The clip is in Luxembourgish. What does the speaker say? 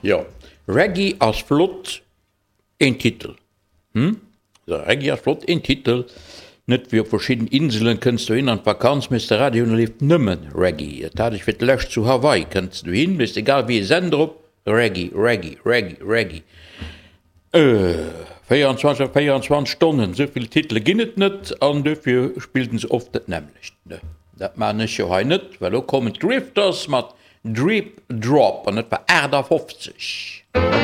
Jo, Reggae ass flott, een Titel, hm? Reggae ass flott, een Titel, net wéi op verschidden Inselen, kënns dohin an d'Vakanz, méchs de Radio un, da leeft nëmmen Reggae. Dat hat ech fir d'lescht zu Hawaii, kënns dohin, méchs egal wéi ee Sender op, Reggae, Reggae, Reggae, Reggae. 24 op 24 Stonnen, esou vill Titele ginn et net an dofir spillt en se oft dat nämmlecht. Dat maachen ech jo hei net, well elo kommen d'Drifters mat Drip Drop an dat war 58.